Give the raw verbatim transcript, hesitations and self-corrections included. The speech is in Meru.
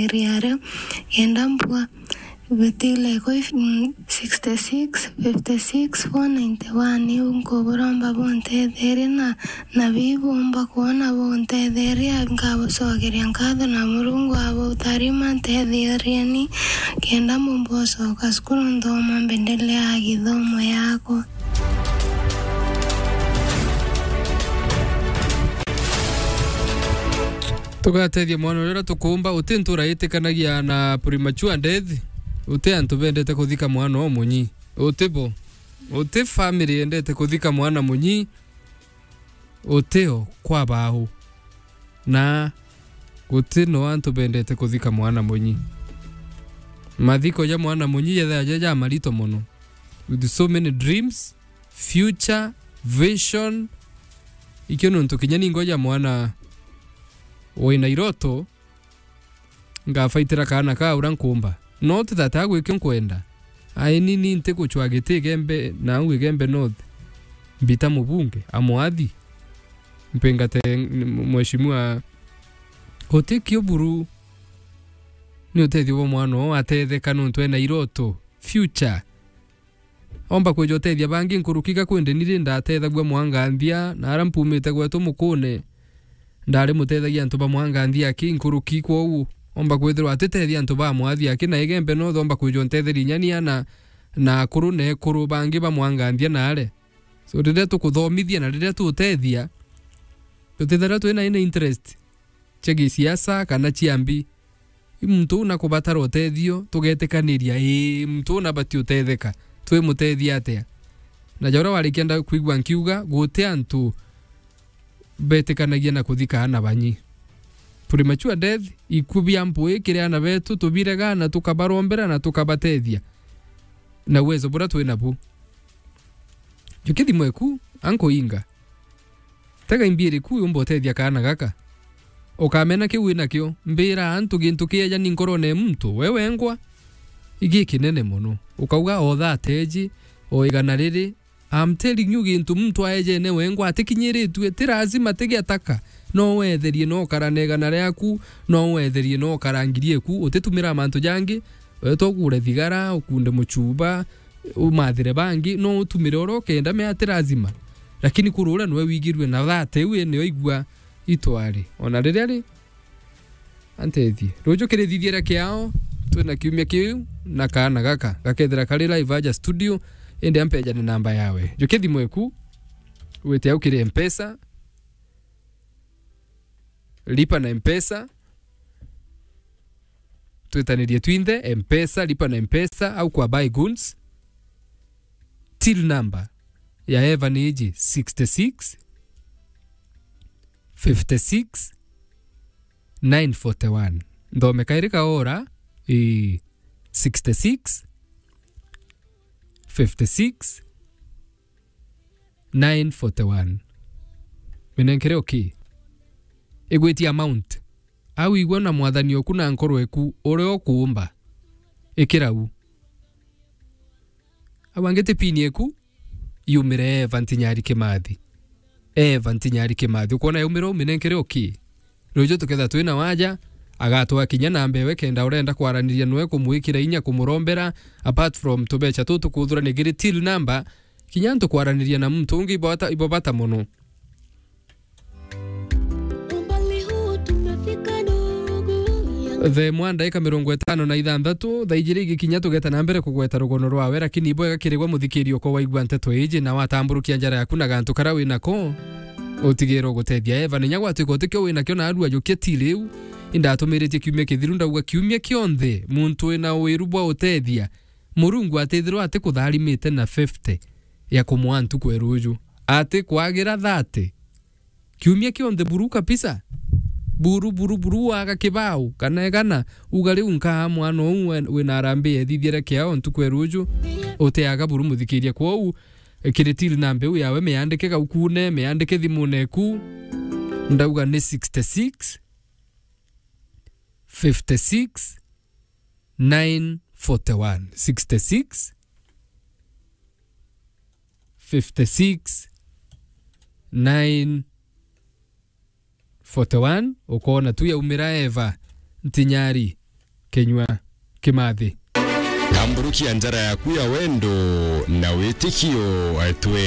area aria, kenda mbua bitile kwi, mm, sixty six, fifty six, four ninety one. Iu nkuburomba buntetherie na, na bibumba kwona buntetherie, nkabucokeria nkatho na Murungu abutharima. Ntetheerieni kenda mbumba ucoka cukuru nthoma mbendeleaa githomo yakwa. Tugatethia mwana uria tukumba, uti ntura itikanagia na premature death, uti antu bendete kuthika mwana o munyi, uti bo, uti family yendete kuthika mwana munyi, uti o kwa bau, na guti no antu bendete kuthika mwana munyi. Mathiko ja mwana munyi jethaa ja, ja marito mono, with so many dreams, future, vision. Ikio nontu kinya ningo ja mwana wina iroto, ngafaitira kaana kaa uria nkumba. No ti that agwikio nkwenda. Ai nini ntiguchwa giti Igembe, na au Igembe North. Mbita mubunge, amwathi. Mpingate mheshimiwa. Utikio buru. Ni utethio bwa mwana oo atetheka nontu ena iroto. Future. Omba kwija utethia bangi nkuruki ga kwende ni ri ndatethagua mwanganthia, na aria mpumite gwetu mukune, ndari mutethagia antu ba mwanganthia aki nkuruki. Kwou, omba kwithirwa atitethia antu ba mwathi aki, na Igembe North omba kwija untetheria inya ni ana na akuru na ekuru bangi ba mwanganthia naare. So, riria tukuthomithia na riria tutethia, tutithirwa twina ina interest cia gisiasa kana cia mbi. I muntu uu nakubatara utethio, tugetikaniria, ii, muntu uu nabati utetheka, twimutethia atia? Na ja uria warikia nda kwigua nkiuga, guti antu betikanagia na kuthika aana banyi. Premature death, ikuu bia mpui kiri aana betu, tubirega na tukabarombera na tukabatethia na uwezo buria twi nabu. Ju kithimo iku, ankuinga. Tega imbiiri ku yumba utethia kaana gaka. Ukamena kiu winakio. Mbira antu gintu kieja ni nkorone ya muntu, we wengwa, igi kinene mono. Ukauga, o thate iji, o igana riri. I'm telling you, gintu muntu aejene wengwa atikinyiritue, ti lazima tigiataka. No wetherie, no ukara na igana riaku, no wetherie, no ukara ngiri eku, utitumira mantu jangi, wetwa ugure thigara, ukunde muchuba, umathire bangi, no utumire uria ukenda, mea ti lazima. Lakini kuru uria niwe wigirue na thate iu niyo igua itwari. Ona riria ri, antethie. Ruju kirithithiria kiao, twina kiumia kiu, na kaana gaka, gakethira kari live aja studio, indi ampejane namba yawe. Ju kithimo iku, wite au kiri Mpesa, lipa na Mpesa, twitanirie twinthe, Mpesa, lipa na Mpesa, au kwa Buy Goods. Till number ya Eva ni iji, sixty six, fifty six, nine forty one. Nthome kairi kaora, ii, sixty six, fifty six, nine forty one. Minenkere okay. Igwitie amount. Au igua na mwathani oku na nkoro eku uria ukuumba. Ikira u. Au angi ti pin eku, yumire Eva Ntinyari Kimathi. Eva Ntinyari Kimathi. Ukwona yaumire u, minenkere okay. Ruju tuketha twina waja, agatwa kinya namba ewe kenda urenda kwaraniria nwe kumwikira inya kumurombera, apart from tubecha tu tukuthurania kiri till number, kinya antu kwaraniria na muntu ungi ibo bata, ibo bata mono. The mwa ndaika mirongo itano na ithanthatu, thaa ijiri igikinya tugeta na mbere kugweta rugono rwawe, lakini ibwega kirigwa muthikiri uko waigua nteto iji na watamburukia njara yaku na gantu kara winako. Utigirwe gutethia Eva, ninya gwatuika utikio winakio na arua jukia ti riu. Indatumiritie kiumia kithiru, ndauga kiumia kionthe muntu wina wiru bwa utethia, Murungu atithirwa atikutharimite na fifty ya kumwa ntuku ya ruju, atikwagira thirty. Kiumia kionthe buru kabisa. Buru, buru, buru, waga kibao, kana egana, uga riu nkaa mwana uu we-, wina harambee ethithiere kiao ntuku ya ruju, utiaga buru muthikiria. Kwou, kiri till number iu yawe, miandike gaukune, miandike thimune eku. Ndauga ni sixty six, fifty six, nine forty one. Sixty six, fifty six, nine forty one. Ukoona tu yaumira Eva Ntinyari. Kinyua Kimathi. Tamburukia njara yaku ya wendo na witikio, twe